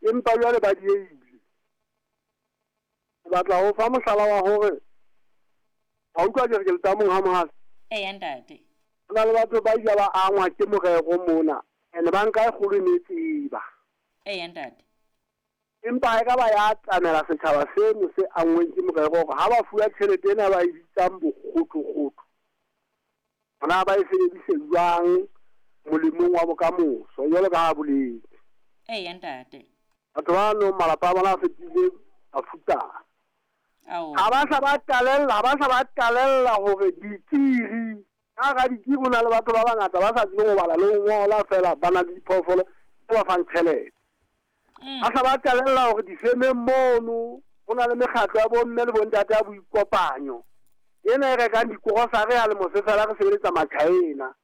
Empa jwale ba diehile. Ke batla ho fa mohlala wa hore wa utlwa ke re ke letamong ha mohase. Eya ntate. Ho na le batho ba ile ba angwa ke morero mona and banka e kgolo e ne e tseba. Eya ntate. Empa ha e ka ba ya atamela setjhaba seno se anngweng ke morero hore ha ba fuwa tjhelete ena ba e bitsang bokgothokgotho, hona ba e sebedise jwang molemong wa bokamoso jwalo ka ha boletse. Eya ntate. Batho ba nong malapa a bona a fetile mafutsana. Ha ba sa ba qalella, ha ba sa ba qalella hore dikiri, ka hara dikiri ho na le batho ba bangata ba sa tsebeng ho bala le ho ngola feela ba na le diphoofolo tse ba fang tjhelete. Ba sa ba qalella hore difemeng mono ho na le mekgatlo ya bomme le bontate ya boikopanyo ena e rekang dikorosari ha lemo se fela re sebeletsa Machaena.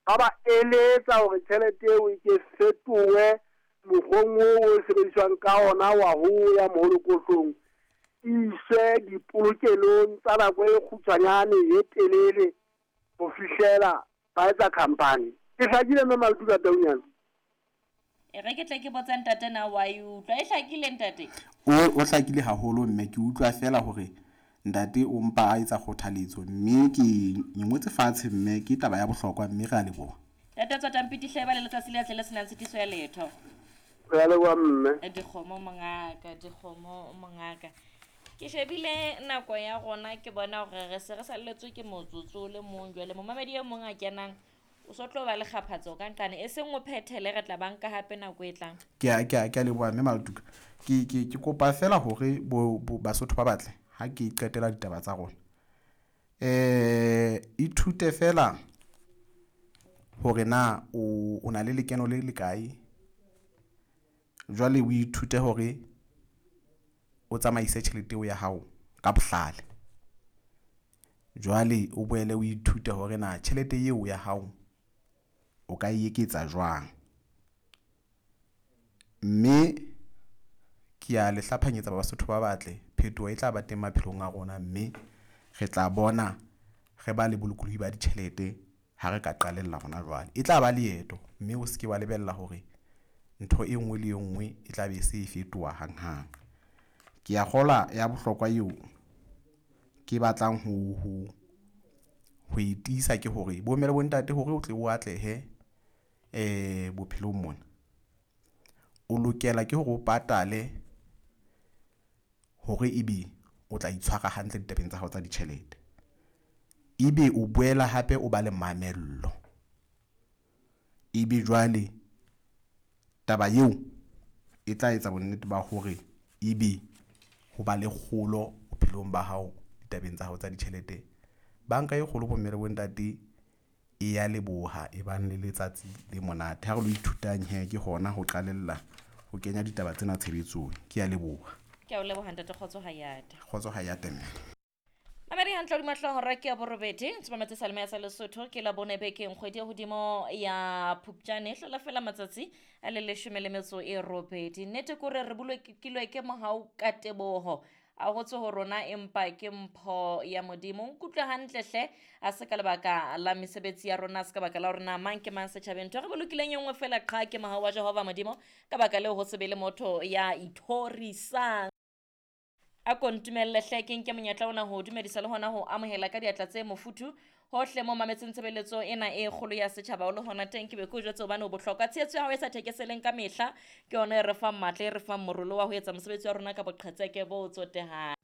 Ba ba eletsa hore tjhelete eo e ke fetohe mokgweng oo o sebediswang ka ona wa ho ya moholokohlong, e iswe dipolokelong tsa nako e kgutshwanyane e telele ho fihlela ba etsa khampani. E hlakile mme Maltuka Taunyana? E re ke tle ke botse ntate na wa e utlwa. E hlakile ntate? O, o hlakile haholo mme ke utlwa feela hore ntate o mpa a etsa kgothaletso mme ke ngotse fatshe mme ke taba ya bohlokwa mme re a leboha. Ntate Tswatampiti hle ba le letsatsi le atle le senang tshitiso ya letho. Re a leboha mme. Dikgomo mongaka, dikgomo mongaka. Ke shebile nako ya rona ke bona hore re se re salletswe ke motsotso o le mong jwale momamedi e mong a kenang o so tlo ba le kgaphatso ka nqane e seng o phethele re tla ba nka hape nako e tlang. Ke a ke a ke a leboha mme Maltuka. Ke ke ke kopa feela hore bo, bo Basotho ba batle ha ke qetela ditaba tsa rona. Eh ithute feela hore na o o na le lekeno le lekae. Jwale o ithute hore o tsamaise tjhelete eo ya hao ka bohlale. Jwale o boele o ithute hore na tjhelete eo ya hao o ka e eketsa jwang. Mme ke a le hlaphanyetsa Basotho ba batle, phetoho e tla ba teng maphelong a rona mme re tla bona re ba le bolokolohi ba ditjhelete ha re ka qalella hona jwale. E tla ba leeto mme o seke wa lebella hore ntho e nngwe le e nngwe e tla be se e fetoha hanghang. Ke a kgolwa ya bohlokwa eo ke batlang ho ho ho e tiisa ke hore bomme le bontate hore o tle o atlehe bophelong mona, o lokela ke hore o patale hore ebe o tla itshwara hantle ditabeng tsa hao tsa ditjhelete. Ebe o boela hape o ba le mamello. Ebe jwale taba eo e tla etsa bonnete ba hore ebe ho ba le kgolo bophelong ba hao ditabeng tsa hao tsa ditjhelete. Banka e kgolo bomme le bontate e ya leboha e bang le letsatsi le monate. Ha re lo ithutang he ke hona ho qalella ho kenya ditaba tsena tshebetsong. Ke ya leboha. Ke a o leboha ntate Kgotso Hayate. Kgotso Hayate mme. Mamedi hantle hodima hlooho hora ke ya borobedi tsepametse saleme ya sa Lesotho ke la bone bekeng kgwedi ya hodimo ya Phupjane hlola fela matsatsi a le leshome le metso e robedi. Nnete ke hore re bolokilwe ke mohau ka teboho a ho tswe ho rona empa ke mpho ya Modimo. Nkutlwe hantle hle a se ka lebaka la mesebetsi ya rona, a se ka baka la hore na mang ke mang setjhabeng. Ntho e re bolokileng e nngwe fela qha ke mohau wa Jehova Modimo. Ka baka leo ho se be le motho ya ithorisang. A ko ntumelle hle ke nke monyetla ona ho dumedisa le hona ho amohela ka diatla tse mofuthu hohle mo mametseng tshebeletso ena e kgolo ya setjhaba o le hona teng ke be ke o jwetse hobane o bohlokwa. Tshehetso ya hao e sa thekeseleng ka mehla ke yona e re fang matla e re fang morolo wa ho etsa mosebetsi wa rona ka boqhetseke bo tsotehang.